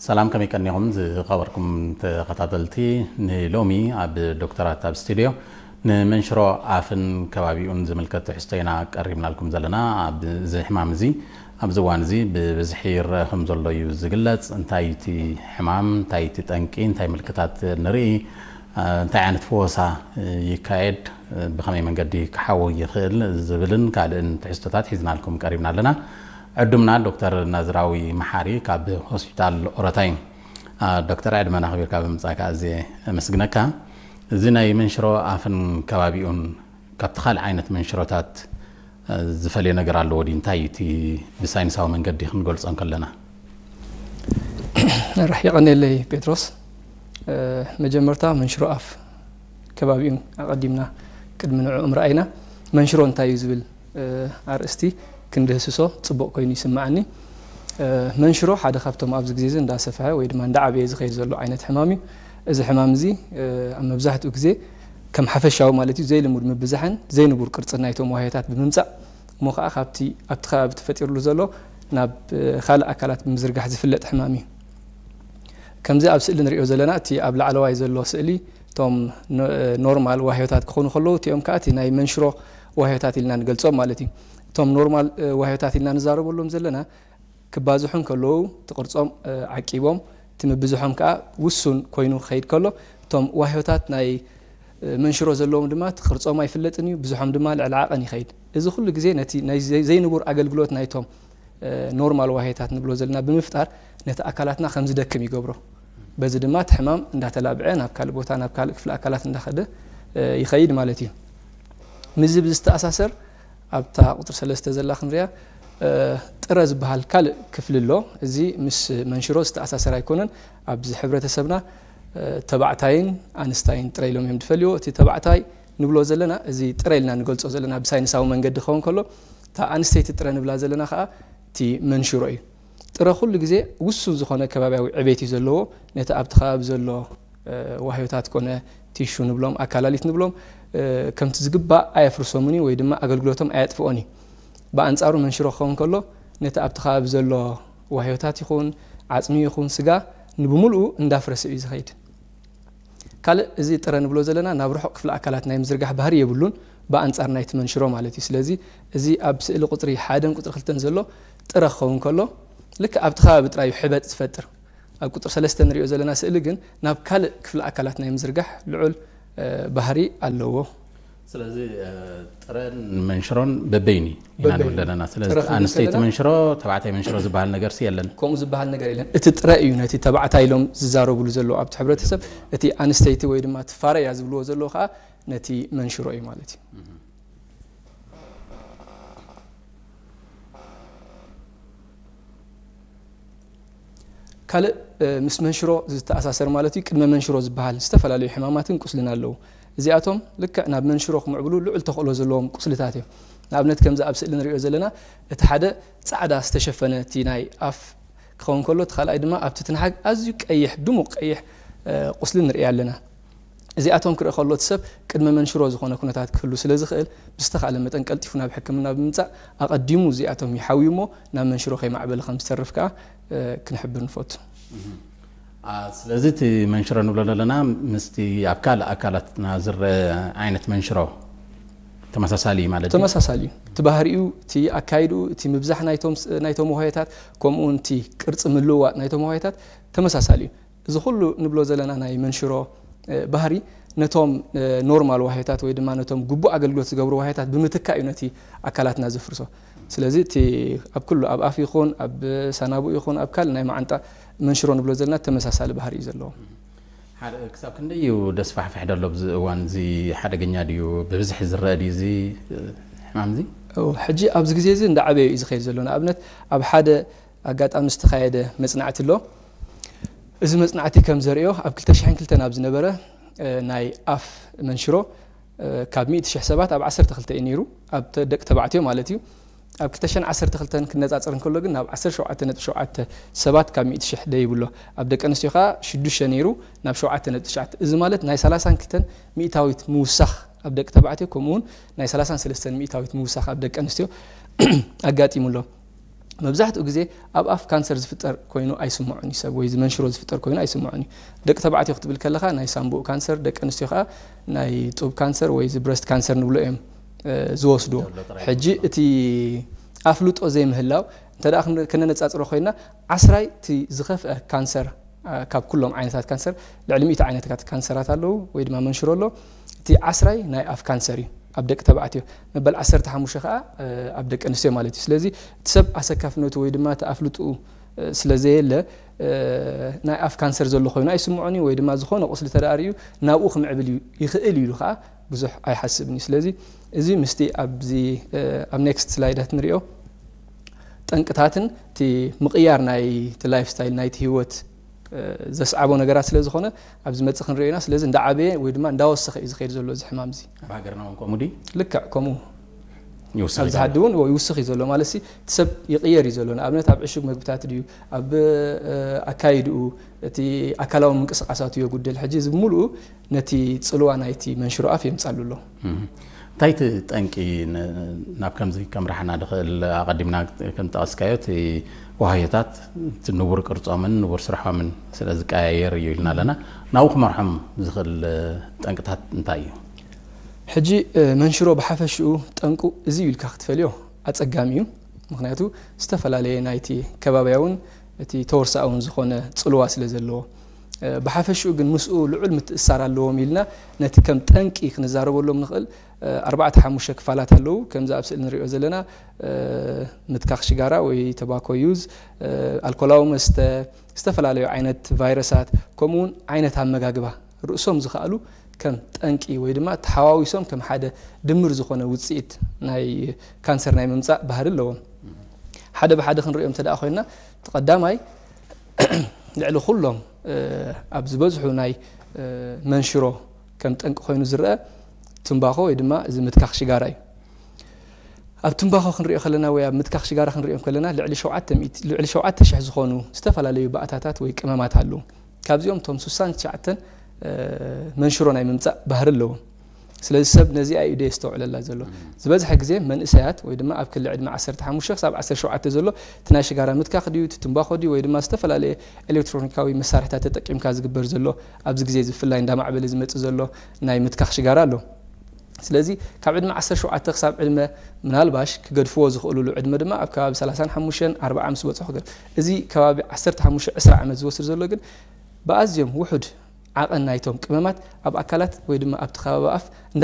ሰላም፣ ከመይ ቀኒኹም ዝኸበርኩም ተኸታተልቲ? ንሎሚ ኣብ ዶክተራት ኣብ ስቱድዮ ንመንሽሮ ኣፍን ከባቢኡን ዝምልከት ትሕዝቶ ኢና ቀሪብናልኩም ዘለና። ኣብዚ ሕማም እዚ ኣብዚ እዋን እዚ ብብዝሒ ይረአ ከም ዘሎ እዩ ዝግለጽ። እንታይ እቲ ሕማም፣ እንታይ እቲ ጠንቂ፣ እንታይ ምልክታት ንርኢ፣ እንታይ ዓይነት ፈወሳ ይካየድ፣ ብኸመይ መንገዲ ክሓዊ ይኽእል ዝብልን ካልእን ትሕዝቶታት ሒዝናልኩም ቀሪብና ኣለና። ዕዱምና ዶክተር ናዝራዊ መሓሪ ካብ ሆስፒታል ኦሮታይ። ዶክተር፣ ዕድመና ኣኽቢርካ ብምምጻእካ ኣዝየ ኣመስግነካ። እዚ ናይ መንሽሮ ኣፍን ከባቢኡን ካብቲ ካልእ ዓይነት መንሽሮታት ዝፈልዮ ነገር ኣለዎ ድዩ? እንታይ እቲ ብሳይንሳዊ መንገዲ ክንገልጾ እንከለና? ራሕ የቐኔለይ ጴጥሮስ። መጀመርታ መንሽሮ ኣፍ ከባቢኡን ኣቐዲምና ቅድሚ ንዕኡ ምርኣይና፣ መንሽሮ እንታይ እዩ ዝብል ኣርእስቲ ክንድህስሶ ጽቡቕ ኮይኑ ይስምዓኒ። መንሽሮ ሓደ ካብቶም ኣብዚ ግዜ እዚ እንዳሰፍሐ ወይ ድማ እንዳዓበየ ዝኸይድ ዘሎ ዓይነት ሕማም እዩ። እዚ ሕማም እዚ ኣብ መብዛሕትኡ ግዜ ከም ሓፈሻዊ ማለት እዩ ዘይልሙድ ምብዛሕን ዘይንቡር ቅርጽን ናይቶም ዋህዮታት ብምምጻእ፣ እሞ ከዓ ካብቲ ኣብቲ ከባቢ ተፈጢርሉ ዘሎ ናብ ካልእ ኣካላት ብምዝርጋሕ ዝፍለጥ ሕማም እዩ። ከምዚ ኣብ ስእሊ ንሪኦ ዘለና፣ እቲ ኣብ ላዕለዋይ ዘሎ ስእሊ እቶም ኖርማል ዋህዮታት ክኾኑ ከለዉ፣ እቲኦም ከዓ እቲ ናይ መንሽሮ ዋህዮታት ኢልና ንገልጾም ማለት እዩ። እቶም ኖርማል ዋህዮታት ኢልና ንዛረበሎም ዘለና ክባዝሑ እንከለዉ እቲ ቅርጾም ዓቂቦም፣ እቲ ምብዝሖም ከዓ ውሱን ኮይኑ ክኸይድ ከሎ፣ እቶም ዋህዮታት ናይ መንሽሮ ዘለዎም ድማ እቲ ቅርጾም ኣይፍለጥን እዩ፣ ብዝሖም ድማ ልዕሊ ዓቐን ይኸይድ። እዚ ኩሉ ግዜ ነቲ ናይ ዘይንቡር ኣገልግሎት ናይቶም ኖርማል ዋህዮታት ንብሎ ዘለና ብምፍጣር ነቲ ኣካላትና ከም ዝደክም ይገብሮ። በዚ ድማ እቲ ሕማም እንዳተላብዐ ናብ ካልእ ቦታ፣ ናብ ካልእ ክፍሊ ኣካላት እንዳኸደ ይኸይድ ማለት እዩ። ምስዚ ብዝተኣሳሰር ኣብታ ቁፅሪ ሰለስተ ዘላ ክንሪኣ ጥረ ዝበሃል ካልእ ክፍሊ ኣሎ። እዚ ምስ መንሽሮ ዝተኣሳሰር ኣይኮነን። ኣብዚ ሕብረተሰብና ተባዕታይን ኣንስታይን ጥረ ኢሎም እዮም ዝፈልይዎ። እቲ ተባዕታይ ንብሎ ዘለና፣ እዚ ጥረ ኢልና ንገልፆ ዘለና ብሳይንሳዊ መንገዲ ክኸውን ከሎ፣ እታ ኣንስተይቲ ጥረ ንብላ ዘለና ከዓ እቲ መንሽሮ እዩ። ጥረ ኩሉ ግዜ ውሱን ዝኾነ ከባቢያዊ ዕቤት እዩ ዘለዎ። ነቲ ኣብቲ ከባቢ ዘሎ ዋህዮታት ኮነ ቲሹ ንብሎም፣ ኣካላሊት ንብሎም፣ ከምቲ ዝግባእ ኣየፍርሶምን እዩ ወይ ድማ ኣገልግሎቶም ኣየጥፍኦን እዩ። ብኣንጻሩ መንሽሮ ክኸውን ከሎ ነቲ ኣብቲ ከባቢ ዘሎ ዋህዮታት ይኹን ዓጽሚ ይኹን ስጋ ንብምልኡ እንዳፍረሰ እዩ ዝኸይድ። ካልእ እዚ ጥረ ንብሎ ዘለና ናብ ርሑቕ ክፍሊ ኣካላት ናይ ምዝርጋሕ ባህሪ የብሉን፣ ብኣንጻር ናይቲ መንሽሮ ማለት እዩ። ስለዚ እዚ ኣብ ስእሊ ቁጽሪ ሓደን ቁጽሪ ክልተን ዘሎ ጥረ ክኸውን ከሎ ልክዕ ኣብቲ ከባቢ ጥራይ እዩ ሕበጥ ዝፈጥር። ኣብ ቁጽሪ ሰለስተ ንሪኦ ዘለና ስእሊ ግን ናብ ካልእ ክፍሊ ኣካላት ናይ ምዝርጋሕ ልዑል ባህሪ ኣለዎ። ስለዚ ጥረን መንሽሮን በበይኒ ኢና ንብል ዘለና። ስለዚ ኣንስተይቲ መንሽሮ፣ ተባዕታይ መንሽሮ ዝበሃል ነገር የለን። ከምኡ ዝበሃል ነገር የለን። እቲ ጥረ እዩ ነቲ ተባዕታይ ኢሎም ዝዛረብሉ ዘለዉ ኣብቲ ሕብረተሰብ። እቲ ኣንስተይቲ ወይ ድማ እቲ ፋረ እያ ዝብልዎ ዘለዉ ከዓ ነቲ መንሽሮ እዩ ማለት እዩ። ካልእ ምስ መንሽሮ ዝተኣሳሰር ማለት እዩ፣ ቅድመ መንሽሮ ዝበሃል ዝተፈላለዩ ሕማማትን ቁስልን ኣለዉ። እዚኣቶም ልክዕ ናብ መንሽሮ ክምዕብሉ ልዑል ተኽእሎ ዘለዎም ቁስልታት እዮም። ንኣብነት ከምዚ ኣብ ስእሊ ንሪኦ ዘለና እቲ ሓደ ጻዕዳ ዝተሸፈነ እቲ ናይ ኣፍ ክኸውን ከሎ፣ እቲ ካልኣይ ድማ ኣብቲ ትንሓግ ኣዝዩ ቀይሕ፣ ድሙቕ ቀይሕ ቁስሊ ንርኢ ኣለና። እዚኣቶም ክርኢ ከሎ እቲ ሰብ ቅድመ መንሽሮ ዝኾነ ኩነታት ክህሉ ስለ ዝኽእል፣ ብዝተኻእለ መጠን ቀልጢፉ ናብ ሕክምና ብምምጻእ ኣቐዲሙ እዚኣቶም ይሓውዩ እሞ ናብ መንሽሮ ከይማዕበለ ከም ዝተርፍ ከኣ ክንሕብር ንፈቱ። ስለዚ እቲ መንሽሮ ንብሎ ዘለና ምስቲ ኣብ ካልእ ኣካላትና ዝረአ ዓይነት መንሽሮ ተመሳሳሊ እዩ ማለት እዩ። ተመሳሳሊ እዩ። እቲ ባህሪኡ፣ እቲ ኣካይድኡ፣ እቲ ምብዛሕ ናይቶም ዋህዮታት፣ ከምኡ እውን እቲ ቅርጺ ምልውዋጥ ናይቶም ዋህዮታት ተመሳሳሊ እዩ። እዚ ኩሉ ንብሎ ዘለና ናይ መንሽሮ ባህሪ ነቶም ኖርማል ዋህዮታት ወይ ድማ ነቶም ግቡእ ኣገልግሎት ዝገብሩ ዋህዮታት ብምትካእ እዩ ነቲ ኣካላትና ዘፍርሶ። ስለዚ እቲ ኣብ ኩሉ ኣብ ኣፍ ይኹን ኣብ ሳናቡእ ይኹን ኣብ ካልእ ናይ መዓንጣ መንሽሮ ንብሎ ዘለና ተመሳሳሊ ባህሪ እዩ ዘለዎ። ሓደ ክሳብ ክንደይ እዩ ደስፋሕፍሕ ደሎ ኣብዚ እዋን እዚ ሓደገኛ ድዩ? ብብዝሒ ዝረአ ድዩ እዚ ሕማም እዚ? ሕጂ ኣብዚ ግዜ እዚ እንዳዓበየ እዩ ዝኸይድ ዘሎ። ንኣብነት ኣብ ሓደ ኣጋጣሚ ዝተኻየደ መጽናዕቲ ኣሎ። እዚ መጽናዕቲ ከም ዘርእዮ ኣብ ክልተ ሽሕን ክልተን ኣብ ዝነበረ ናይ ኣፍ መንሽሮ ካብ ሚእቲ ሽሕ ሰባት ኣብ ዓሰርተ ክልተ እዩ ነይሩ፣ ኣብ ደቂ ተባዕትዮ ማለት እዩ። ኣብ ክልተ ሽሕን ዓሰርተ ክልተን ክነጻጸር እንከሎ ግን ናብ ዓሰርተ ሸውዓተ ነጥቢ ሸውዓተ ሰባት ካብ ሚእቲ ሽሕ ደይብሎ። ኣብ ደቂ ኣንስትዮ ከኣ ሽዱሽተ ነይሩ ናብ ሸውዓተ ነጥቢ ትሽዓተ። እዚ ማለት ናይ ሰላሳን ክልተን ሚእታዊት ምውሳኽ ኣብ ደቂ ተባዕትዮ፣ ከምኡ እውን ናይ ሰላሳን ሰለስተን ሚእታዊት ምውሳኽ ኣብ ደቂ ኣንስትዮ ኣጋጢሙ ኣሎ። መብዛሕትኡ ግዜ ኣብ ኣፍ ካንሰር ዝፍጠር ኮይኑ ኣይስምዖን እዩ ሰብ፣ ወይ መንሽሮ ዝፍጠር ኮይኑ ኣይስምዖን እዩ። ደቂ ተባዕትዮ ክትብል ከለኻ ናይ ሳምቡእ ካንሰር፣ ደቂ ኣንስትዮ ከዓ ናይ ጡብ ካንሰር ወይ ብረስት ካንሰር ንብሎ እዮም ዝወስድዎ። ሕጂ እቲ ኣፍልጦ ዘይምህላው እንተ ከነነፃፅሮ ኮይና፣ ዓስራይ እቲ ዝኸፍአ ካንሰር ካብ ኩሎም ዓይነታት ካንሰር፣ ልዕሊ ሚእቲ ዓይነታት ካንሰራት ኣለዉ ወይ ድማ መንሽሮ ኣሎ። እቲ ዓስራይ ናይ ኣፍ ካንሰር እዩ ኣብ ደቂ ተባዕትዮ፣ መበል ዓሰርተ ሓሙሽተ ከዓ ኣብ ደቂ ኣንስትዮ ማለት እዩ። ስለዚ እቲ ሰብ ኣሰካፍነቱ ወይ ድማ እቲ ኣፍልጥኡ ስለ ዘየለ ናይ ኣፍ ካንሰር ዘሎ ኮይኑ ኣይስምዖን እዩ፣ ወይ ድማ ዝኾነ ቁስሊ ተዳኣር እዩ ናብኡ ክምዕብል እዩ ይኽእል እዩ ኢሉ ከዓ ብዙሕ ኣይሓስብን እዩ። ስለዚ እዚ ምስቲ ኣብዚ ኣብ ኔክስት ስላይዳት ንሪኦ ጠንቅታትን እቲ ምቕያር ናይ ላይፍ ስታይል ናይቲ ህይወት ዘስዓቦ ነገራት ስለ ዝኾነ ኣብዚ መፅእ ክንሪኦ ኢና። ስለዚ እንዳዓበየ ወይ ድማ እንዳወሰኸ እዩ ዝኸይድ ዘሎ እዚ ሕማም እዚ። ኣብ ሃገርና እውን ከምኡ ድዩ? ልክዕ ከምኡ። ይውስኽ ኣብዚ እዩ ዘሎ። ሓዲ እውን ይውስኽ እዩ ዘሎ ማለት ሲ እቲ ሰብ ይቕየር እዩ ዘሎ። ንኣብነት ኣብ ዕሹግ መግብታት ድዩ፣ ኣብ ኣካይድኡ፣ እቲ ኣካላዊ ምንቅስቃሳቱ የጉድል። ሕጂ እዚ ብምሉኡ ነቲ ፅልዋ ናይቲ መንሽሮ ኣፍ የምፃሉ ኣሎ። እንታይ እቲ ጠንቂ ናብ ከምዚ ከምርሓና ድኽእል? ኣቐዲምና ከም ጠቐስካዮ እቲ ዋህዮታት እቲ ንቡር ቅርጾምን ንቡር ስርሖምን ስለ ዝቀያየር እዩ ኢልና ኣለና። ናብኡ ክመርሖም ዝኽእል ጠንቅታት እንታይ እዩ? ሕጂ መንሽሮ ብሓፈሽኡ ጠንቁ እዚ እዩ ኢልካ ክትፈልዮ ኣጸጋሚ እዩ። ምኽንያቱ ዝተፈላለየ ናይቲ ከባብያውን እቲ ተወርሳኣውን ዝኾነ ጽልዋ ስለ ዘለዎ፣ ብሓፈሽኡ ግን ምስኡ ልዑል ምትእሳር ኣለዎም ኢልና ነቲ ከም ጠንቂ ክንዛረበሎም ንኽእል ኣርባዕተ ሓሙሽተ ክፋላት ኣለዉ። ከምዚ ኣብ ስእሊ ንሪኦ ዘለና ምትካኽ ሽጋራ ወይ ተባኮ ዩዝ፣ ኣልኮላዊ መስተ፣ ዝተፈላለዩ ዓይነት ቫይረሳት፣ ከምኡውን ዓይነት ኣመጋግባ ርእሶም ዝኸኣሉ ከም ጠንቂ ወይ ድማ ተሓዋዊሶም ከም ሓደ ድምር ዝኾነ ውፅኢት ናይ ካንሰር ናይ ምምፃእ ባህሪ ኣለዎም። ሓደ ብሓደ ክንሪኦም እንተ ደኣ ኮይና፣ እቲ ቀዳማይ ልዕሊ ኩሎም ኣብ ዝበዝሑ ናይ መንሽሮ ከም ጠንቂ ኮይኑ ዝረአ ትምባኾ ወይ ድማ እዚ ምትካኽ ሽጋራ እዩ። ኣብ ትምባኾ ክንሪኦ ከለና ወይ ኣብ ምትካኽ ሽጋራ ክንሪኦም ከለና ልዕሊ ሸውዓተ ሚእቲ ልዕሊ ሸውዓተ ሽሕ ዝኾኑ ዝተፈላለዩ ባእታታት ወይ ቅመማት ኣለዉ። ካብዚኦም እቶም ስሳን ትሽዓተን መንሽሮ ናይ ምምፃእ ባህሪ ኣለዎም። ስለዚ ሰብ ነዚኣ እዩ ደየስተውዕለላ ዘሎ። ዝበዝሐ ግዜ መንእሰያት ወይ ድማ ኣብ ክሊ ዕድመ ዓሰርተ ሓሙሽተ ክሳብ ዓሰርተ ሸውዓተ ዘሎ እቲ ናይ ሽጋራ ምትካኽ ድዩ፣ እቲ ትምባኾ ድዩ፣ ወይ ድማ ዝተፈላለየ ኤሌክትሮኒካዊ መሳርሕታት ተጠቂምካ ዝግበር ዘሎ ኣብዚ ግዜ እዚ ብፍላይ እንዳማዕበለ ዝመፅእ ዘሎ ናይ ምትካኽ ሽጋራ ኣሎ። ስለዚ ካብ ዕድመ ዓሰርተ ሸውዓተ ክሳብ ዕድመ ምናልባሽ ክገድፍዎ ዝኽእሉሉ ዕድመ ድማ ኣብ ከባቢ ሰላሳን ሓሙሽተን ኣርባዓ ምስ በፅሑ ክገድ-፣ እዚ ከባቢ ዓሰርተ ሓሙሽተ ዕስራ ዓመት ዝወስድ ዘሎ ግን ብኣዝዮም ውሑድ ዓቐን ናይቶም ቅመማት ኣብ ኣካላት ወይ ድማ ኣብቲ ከባቢ ኣፍ እንዳ